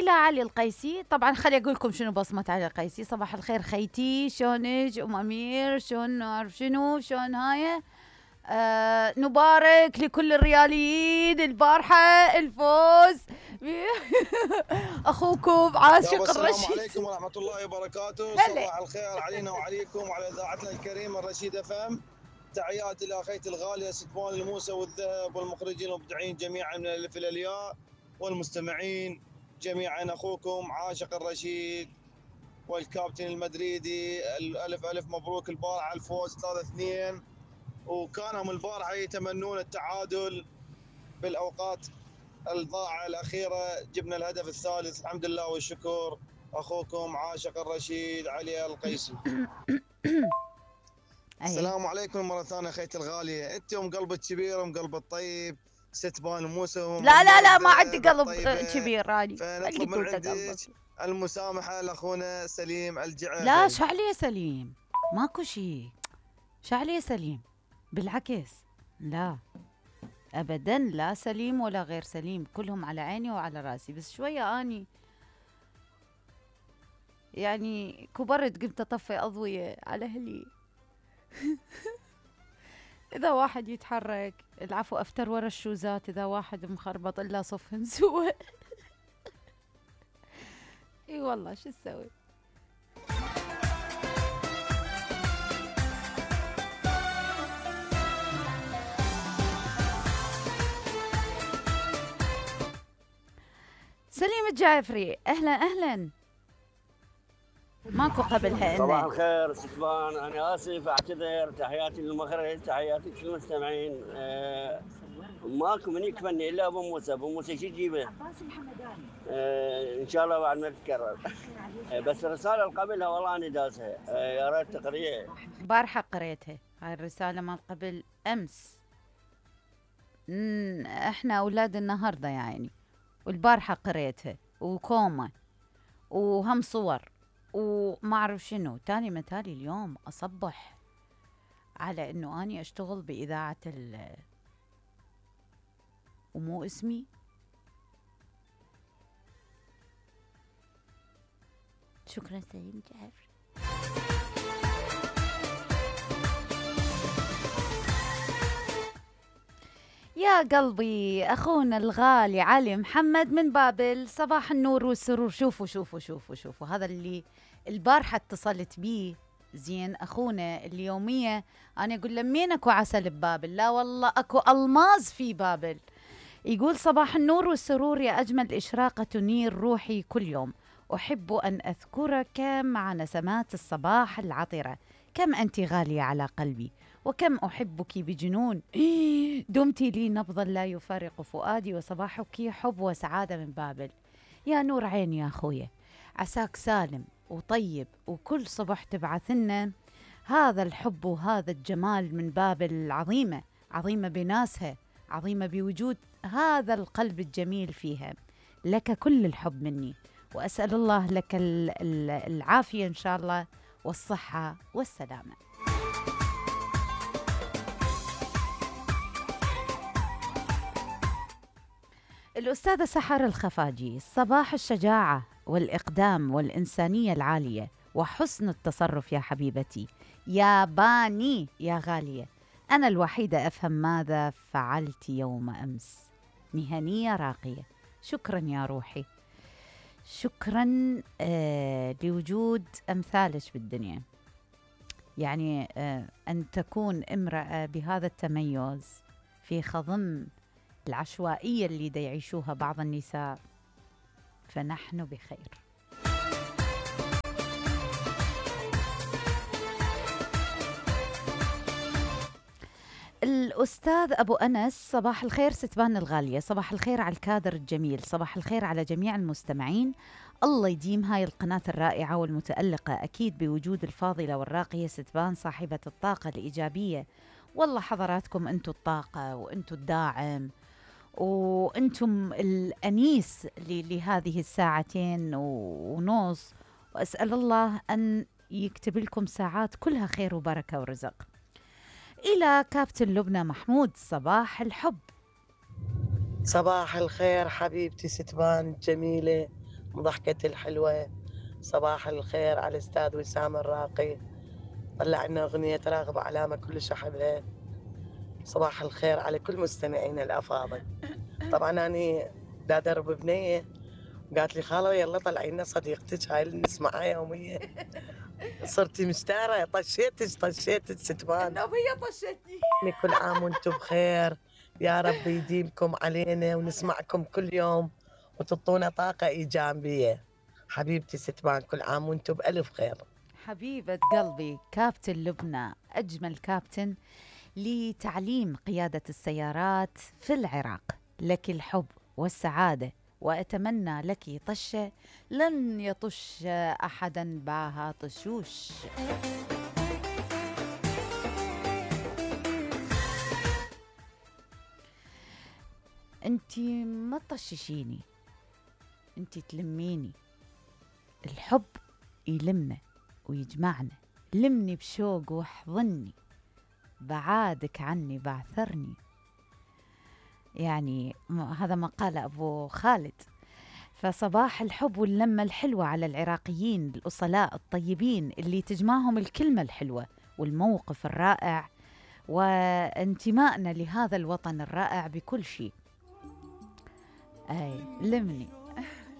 إلى علي القيسي. طبعا خلي أقول لكم شنو بصمة علي القيسي. صباح الخير خيتي، شلونك؟ أمير شلون؟ أعرف شنو شلون هاي. نبارك لكل الرياليين البارحة الفوز أخوكم عاشق الرشيد. السلام عليكم ورحمة الله وبركاته. صباح الخير علينا وعليكم وعلى إذاعتنا الكريمة الرشيد FM. تحياتي لأخيتي الغالية ستفان الموسى والذهب والمخرجين المبدعين جميعا من الألف إلى الياء والمستمعين جميعا. أخوكم عاشق الرشيد والكابتن المدريدي. ألف مبروك البارحة الفوز 3-2، وكانوا البارحة يتمنون التعادل بالأوقات الضائعة الأخيرة. جبنا الهدف الثالث الحمد لله والشكر. أخوكم عاشق الرشيد علي القيسي. السلام عليكم مرة ثانية أخيتي الغالية. أنت أم قلب الكبير أم قلب الطيب ستبان موسى. لا ما عندي قلب كبير راني. فنطلب من عندك المسامحة لأخونا سليم الجعفري. لا شعلي يا سليم، ماكو شي. شعلي يا سليم، بالعكس لا أبداً، لا سليم ولا غير سليم، كلهم على عيني وعلى راسي. بس شوية أني يعني كبرت، قمت أطفي أضوية على أهلي. إذا واحد يتحرك العفو أفتر ورا الشوزات، إذا واحد مخربط إلا صفهن سوى. إي والله شو تسوي. سليم الجعفري أهلا. ماكو قبلها. صباح الخير ستفان، أنا آسف أعتذر. تحياتي للمخرج، تحياتي للمستمعين. ماكو من يكفني إلا أبو موسى. أبو موسى شو تجيبه؟ إن شاء الله بعد ما تتكرر. بس الرسالة اللي قبلها والله أنا داسها، يا ريت تقريها. بارحة قريتها هاي الرسالة مال قبل أمس. إحنا أولاد النهاردة يعني، والبارحة قريتها وكومة وهم صور وما أعرف شنو تاني. متالي اليوم أصبح على إنه أني أشتغل بإذاعة ومو اسمي. شكرا سليم جعفري. يا قلبي أخونا الغالي علي محمد من بابل، صباح النور والسرور. شوفوا هذا اللي البارحة اتصلت بيه زين أخونا اليومية. أنا أقول له مين أكو عسل ببابل؟ لا والله أكو ألماظ في بابل. يقول صباح النور والسرور يا أجمل إشراقة تنير روحي كل يوم. أحب أن أذكرك مع نسمات الصباح العطرة. كم أنت غالية على قلبي وكم أحبك بجنون. دمت لي نبضا لا يفارق فؤادي وصباحك حب وسعادة من بابل. يا نور عيني يا أخويا، عساك سالم وطيب وكل صبح تبعث لنا هذا الحب وهذا الجمال من بابل العظيمة، عظيمة بناسها، عظيمة بوجود هذا القلب الجميل فيها. لك كل الحب مني، وأسأل الله لك العافية إن شاء الله والصحة والسلامة. الأستاذة سحر الخفاجي، صباح الشجاعة والإقدام والإنسانية العالية وحسن التصرف يا حبيبتي، يا باني يا غالية. أنا الوحيدة أفهم ماذا فعلت يوم أمس. مهنية راقية. شكرا يا روحي، شكرا لوجود أمثالك بالدنيا. يعني أن تكون امرأة بهذا التميز في خضم العشوائية اللي دا يعيشوها بعض النساء، فنحن بخير. الأستاذ أبو أنس، صباح الخير ستبان الغالية، صباح الخير على الكادر الجميل، صباح الخير على جميع المستمعين. الله يديم هاي القناة الرائعة والمتألقة، أكيد بوجود الفاضلة والراقية ستبان صاحبة الطاقة الإيجابية. والله حضراتكم أنتوا الطاقة وأنتوا الداعم وأنتم الأنيس لهذه الساعتين ونص، وأسأل الله أن يكتب لكم ساعات كلها خير وبركة ورزق. إلى كابتن لبنى محمود، صباح الحب. صباح الخير حبيبتي ستبان جميلة وضحكتي الحلوة. صباح الخير على الأستاذ وسام الراقي، طلع لنا أغنية راغب علامة كلش أحبها. صباح الخير على كل مستمعين الأفاضل. طبعا أنا دا درب بنية قالت لي خالة يلا طلعي لنا صديقتك هاي اللي نسمعها يوميا. صرتي مشتارة، طشيتك ستمان. نوب هي طشتني. كل عام وانتم بخير، يا رب يديمكم علينا ونسمعكم كل يوم وتعطونا طاقة إيجابية. حبيبتي ستمان، كل عام وانتم بألف خير. حبيبة قلبي كابتن لبنى، أجمل كابتن لتعليم قيادة السيارات في العراق. لك الحب والسعادة، وأتمنى لك طشة لن يطش أحدا باها طشوش. انتي ما تطششيني، انتي تلميني. الحب يلمنا ويجمعنا، لمني بشوق واحضني، بعادك عني بعثرني. يعني هذا ما قال أبو خالد. فصباح الحب واللمة الحلوة على العراقيين الأصلاء الطيبين اللي تجمعهم الكلمة الحلوة والموقف الرائع وانتمائنا لهذا الوطن الرائع بكل شيء. أي لمني.